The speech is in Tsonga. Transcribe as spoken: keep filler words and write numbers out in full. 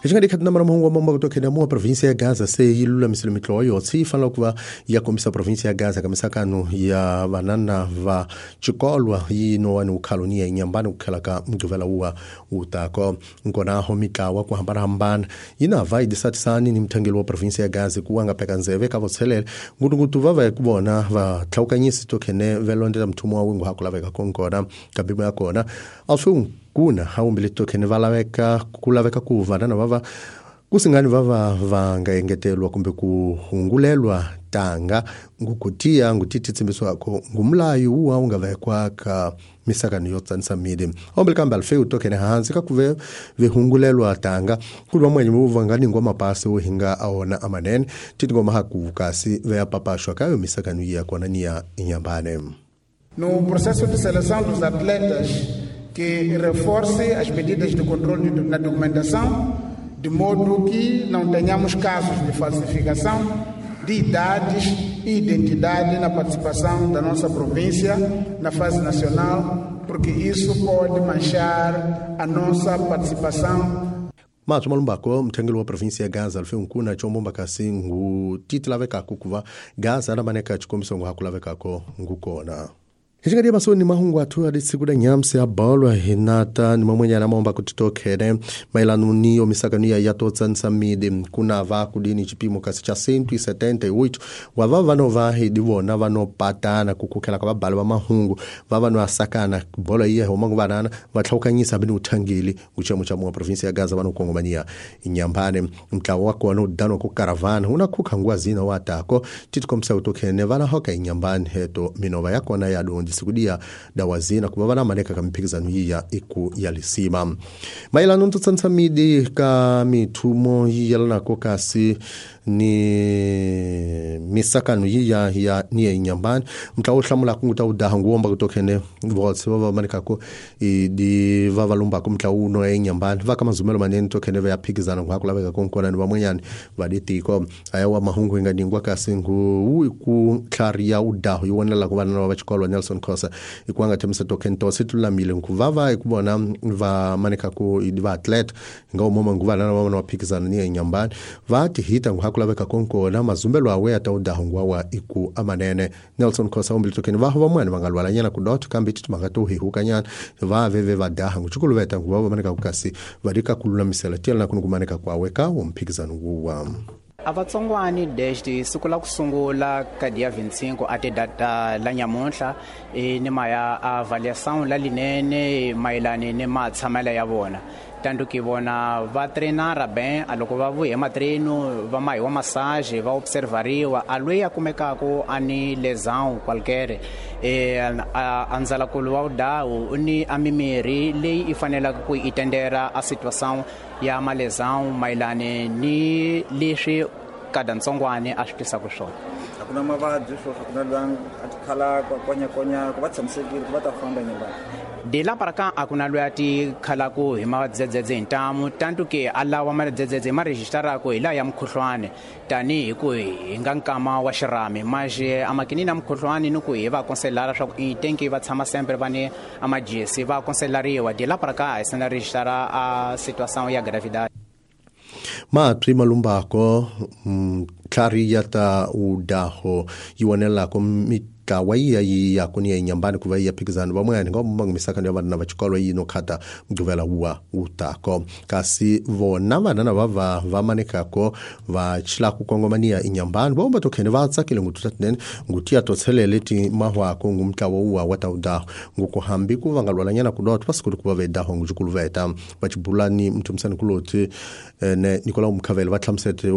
Hi xi nga dikhat na mahungu wa mambo ku tokhena mu province ya Gaza se yi lulamisile mitlowa yotsi yi fanele ku va ya kombisa province ya Gaza ka misakano ya vanana va xikolwa yi nowani ukhalo ni ya inyambani ku khela ka mugqivela wuwa wutako nkonaho mitlawa ku hambanahambana yi na va yi disatisani ni muthangeli wa province ya Gaza ku wa nga peka ndzeve ka votshelela ngutungutu va va ku vona va tlhawukanyisi tokhene velondela mthumo wa wingu ha ku laveka konkona ka bimo ya kona alfu kuna hawumbili tokhene va laveka ku laveka ku vanana va va kusingani va va va nga engetelwa kumbe ku hungulelwa tanga ngukutiya ngutithitsimbiswako ngumlayo wuwa wu nga vekwa ka misakano yo tsanisa midi ombele kambe alfeu tokhene hansi ka kuve vihungulelwa tanga kuli vamwenye vuva nga ningwa mapasi wo hinga aona amanene titi ngoma haku kasi veya papashwa kayo misakano iya kona ni ya inyambane. No processo de seleção dos atletas que reforce as medidas de controle na documentação, de modo que não tenhamos casos de falsificação de idades e identidade na participação da nossa província na fase nacional, porque isso pode manchar a nossa participação. Mathu malumbako mthengeli wa province ya Gaza alfe nkuna chombomba kasi ngu titi lavekako kuva Gaza na chikombiso ngu hakulavekako ngukona. Hixingadi masoni mahungu athu adisiku da nyamsi ya bolwa hinata ni mamwenyana maomba kutitokhene maelano niyo misakano ya yatotsanisa midi kuna va kudini chipimo kasi cha cento e setenta e oito wa va vano hidi vona vanopatana kukukhela ka vabali va mahungu va vano asakana bolo iya homa vanana va tlhawukanyisa bini uthangeli uchemo cha mwa province ya Gaza vano kongomania inyambane mtlawa wa kona udano ku caravana una khukha ngwazina wa tako titikomisa utokhene vana hoka inyambane heto minova yakona ya dondi sikudia dawazina kuba vana maneka ka mphikizano yiya iku ya lisima maelano ntotsanisa midi ka mithumo yiyelanako kasi ni misakano yiya ya ni ya inyambani mtlawa uhlamula kunguta udaha nguwomba kutokhene votse va va manekako di va va lumbako mtlawa uno ya inyambani va ka mazumelo manene tokhene va ya phikizana nguhakulaveka konkona ni vamwenyani va ditiko aya wa mahungu inga ningwa kasi ngu ku tlhariya udaho yi vonela ku vana va xikolwa Nelson Khosa ikwanga themisa tokhene to situlamile nguvava ikubona va manekako di va athlete nga umoma nguvana va va phikizana ni ya inyambani va tihita nguhakulaveka konkona mazumbelo awe ya taudaho ngwawa iku amanene Nelson Khosa umbili tokhene va vamwani va nga lwalanyana kudotho kambe titi mhaka to hihukanyana va veve va daha nguchukuluveta nguva va maneka kasi va dika kululamisela tiyelana kuni kumaneka kwawe ka umphikizano wuwa. A vatsongwani desde siku la ku sungula ka dia vinte e cinco até data la nyamuntlha e ni maya avaliação la linene mayelana ni matshamelo ya vona tanto que vona va treinara bem a loko va vuya ematreno va mahiwa massage va observariwa a loyi a kumekako a ni lesão qualquer e a ndzalakulu wa udawu u ni a mimiri leyi i fanelaka ku yi tendera a situação ya malesão mayelana ni leswi kada ntsongwane a swi tisaka swona. A ku na mavabyi swo a ku na loyi a tikhalaka konyakonya ku va tshamisekile ku va ta famba nyambani. De lá para cá a ku na loyi a tikhalaku hi madzedzedze hi ntamu tanto ke a lawa madzedzedze ma registrarako hi laha ya mukhuhlwani tanihi ku hi nga nkama wa xirhami maxe amakinini ya mukhuhlwani ni ku hi va konselara swa ku i tenki va tshama sempre va ni amajesi va konselariwa de lá para cá a se na registrar a situação ya gravidade. Matwi malumbako tlhari ya ta udaho yi vonelako mitlawa yiya yi ya kuni ya inyambani ku va yi ya phikizana van'wanyana nga va misakano ya vana va xikolo yi no khata mugqivela wuwa wutako kasi vona vanana va va va manekako va chila ku kongomania inyambani va tokhene va tsakile ngututa tinene ngutiya to tshelele ti mahwako ngumtlawa wuwa wa ta udaho nguku hambi ku va nga lwalanyana ku dotwa siku ku va vedaho ngujukuluveta va chibulani mthumisani kuloti ne Nicolau Mkhavele va hlamusete.